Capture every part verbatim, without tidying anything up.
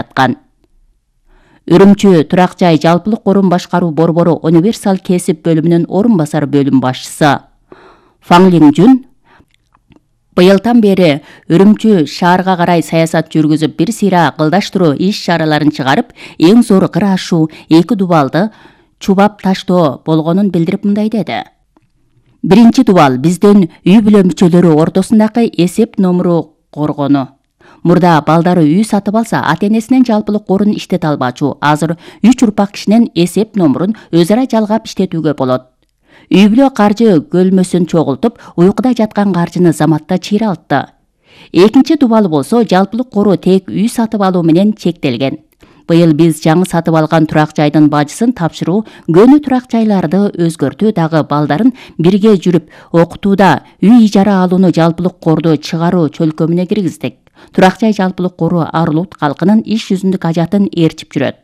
жаткан. Үрүмчү турак жай жалпылык корун башкаруу борбору универсал кесип бөлүмүнүн орун басары бөлүм башчысы Фаң Лиңжун быйылдан бери Үрүмчү шаарга карай саясат жүргүзүп, бир сыйра кылдаштыруу иш-чараларын чыгарып, эң зор кыр ашуу эки дубалды чубап таштоо болгонун билдирип мындай деди. Биринчи дубал биздин үй бүлө мүчөлөрү ортосундагы эсеп номуру коргону. Мурда балдары үй сатып алса, ата-энесинен жалпылык корун иштете албачу. Азыр үч урпак кишинин эсеп номурун өз ара жалгап иштетүүгө болот. Үй бүлө каржы көлмөсүн чогултуп, уйкуда жаткан каржыны заматта чыйралтты. Экинчи дубалы болсо жалпылык коруу тек үй сатып алуу менен чектелген. Быйыл биз жаңы сатып алган турак жайдын бажысын тапшыруу, көнү турак жайларды өзгөртүү, дагы балдарын бирге жүрүп окутууда үй ижара алууну жалпылык корду чыгаруу чөлкөмүнө киргиздик. Турак жай жалпылык коруу Арлут калкынын иш жүзүндүк ажатын ээрчип жүрөт.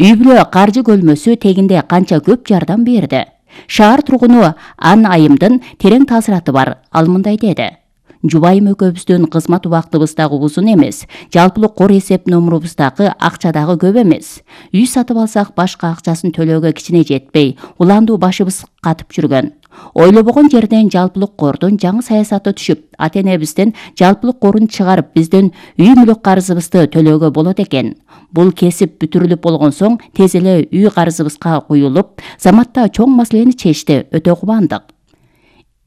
Үй бүлө каржы көлмөсү тегинде канча көп жардам берди. Шаар тургуну Ан Айымдын терең таасираты бар. Ал мындай деди. Жубайым экөөбүздүн кызмат убактыбыз дагы узун эмес. Жалпылык кор эсеп номурубуз дагы акча дагы көп эмес. Үй сатып алсак башка акчасын төлөөгө кичине жетпей, уландуу башыбыз катып жүргөн. Ойлобогон жерден жалпылык кордун жаңы саясаты түшүп, ата-энебизден жалпылык корун чыгарып, биздин үй мүлк карызыбызды төлөөгө болот экен. Бул кесип бүтүрүлүп болгон соң тез эле үй карызыбызга куюлуп, заматта чоң маселени чечти, өтө кубандык.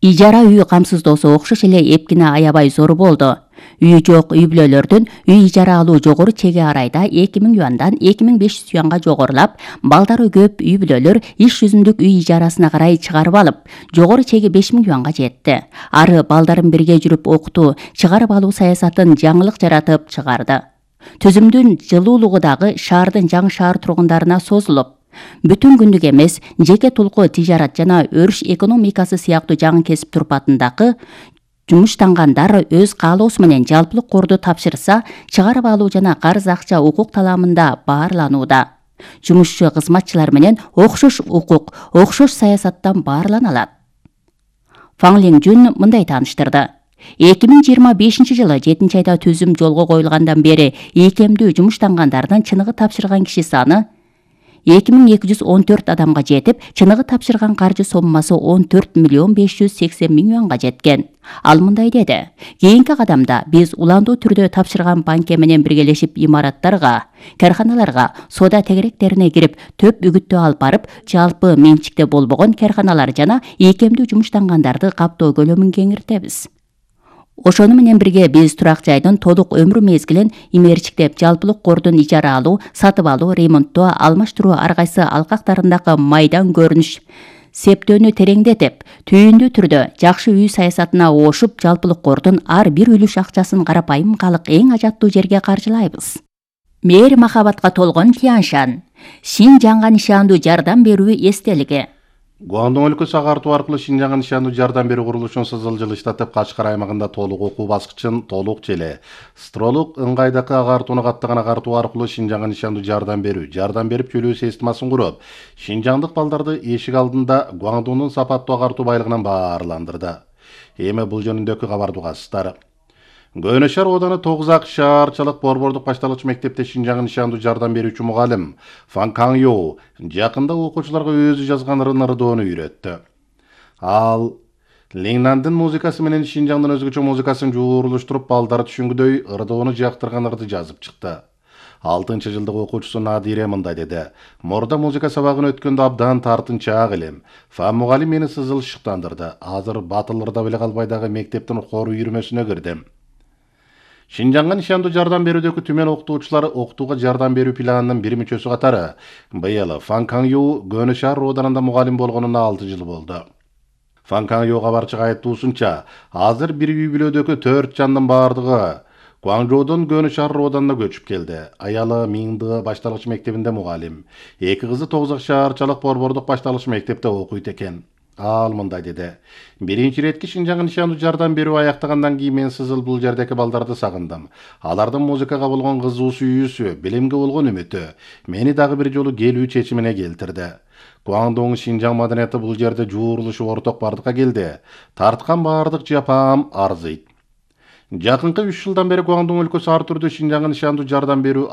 Ижара үй камсыздоосу окшош эле эпкине аябай зор болду. Үйү жок үй бүлөлөрдүн үй ижара алуу жогору чеги арайда эки миң юандан эки миң беш жүз юанга жогорулап, балдары көп үй бүлөлөр иш жүзүндүк үй ижарасына карай чыгарып алып, жогору чеги беш миң юанга жетти. Ары балдарын бирге жүрүп окутуу, чыгарып алуу саясатын жаңылык жаратып чыгарды. Түзүмдүн жылуулугу дагы шаардын жаңы шаар тургундарына созулуп, бүтүн күндүк эмес, жеке тулку тижарат жана өрүш экономикасы сыяктуу жаңы кесип турпатындагы жумуштангандар өз каалоосу менен жалпылык корду тапшырса, чыгарып алуу жана карыз акча укук таламында баарланууда. Жумушчу кызматчылар менен окшош укук, окшош саясаттан баарлана алат. Фаң Лиңжун мындай тааныштырды. эки миң жыйырма бешинчи жылы жетинчи айда түзүм жолго коюлгандан бери ийкемдүү жумуштангандардын чыныгы тапшырган киши саны эки миң эки жүз он төрт адамга жетип, чыныгы тапшырган каржы соммасы он төрт миллион беш жүз сексен миң юанга жеткен. Ал мындай деди. Кийинки кадамда биз уландуу түрдө тапшырган банке менен биргелешип имараттарга, карханаларга, соода тегеректерине кирип, төп үгүттөө алып барып, жалпы менчикте болбогон карханалар жана ийкемдүү жумуштангандарды каптоо көлөмүн кеңиртебиз. Ошону менен бирге биз турак жайдын толук өмүр мезгилин имерчиктеп, жалпылык кордун ижара алуу, сатып алуу, ремонттоо, алмаштыруу ар кайсы алкактарындагы майдан көрүнүш септөөнү тереңдетип, түйүндүү түрдө жакшы үй саясатына оошуп, жалпылык кордун ар бир үлүш акчасын карапайым калк эң ажаттуу жерге каржылайбыз. Мээр махабатка толгон Тяньшан. Шинжаңга нишандуу жардам берүү эстелиги. Гуандун өлкөсү агартуу аркылуу Шинжаңга нишандуу жардам берүү курулушун сызыл жылыштатып, Кашкар аймагында толук окуу баскычын толук желе. Стролук ыңгайдакы агартууну каттаган агартуу аркылуу Шинжаңга нишандуу жардам берүү, жардам берип чөлөө системасын куруп, шинжаңдык балдарды эшик алдында Гуандунун сапаттуу агартуу байлыгынан баарландырды. Эми бул жөнүндөгү кабарды угасыздар. Көнө шаар ооданы тогуз ак шаарчылык борбордук башталгыч мектепте Шинжаңга нишандуу жардам берүүчү мугалим Фан Каң Йоу жакында окуучуларга өзү жазган ырдоону үйрөттү. Ал Лиңнандын музыкасы менен Шинжаңдын өзгөчө музыкасын жуурулуштуруп, балдар түшүнгүдөй ырдоону жактырган ырды жазып чыкты. алтынчы жылдык окуучусу Надире мындай деди. Мурда музыка сабагын өткөндө абдан тартынчаак элем. Фан мугалим мени сызыл шыктандырды. Азыр батыл ырдап эле калбай дагы мектептин хор үйүрмөсүнө кирдим. Шинжаңга нишандуу жардам берүүдөгү түмен окутуучулар окутууга жардам берүү планынын бир мүчөсү катары быйыл Фан Каң Йоу Көнө шаар рооданында мугалим болгонуна алты жыл болду. Фан Каң Йоу кабарчыга айттуусунча, азыр бир үй бүлөдөгү төрт жандын баардыгы Гуаңжоодон Көнө шаар рооданына көчүп келди. Аялы Миңды башталгыч мектебинде мугалим. Эки кызы тогуз ак шаарчылык борбордук башталгыч мектепте окуйт экен. Ал мындай деди. Биринчи иретки Шинжаңга нишандуу жардам берүү аяктагандан кийин мен сызыл бул жердеки балдарды сагындым. Алардын музыкага болгон кызуу сүйүүсү, билимге болгон үмүтү мени дагы бир жолу келүү чечимине келтирди. Гуандун Шинжаң маданияты бул жерде жуурулушу орток бардыкка келди. Тарткан баардык жапаам арзыйт. Жакынкы үч жылдан бери Гуандун өлкөсү ар түрдүү Шинжаңга нышандуу жардам берүү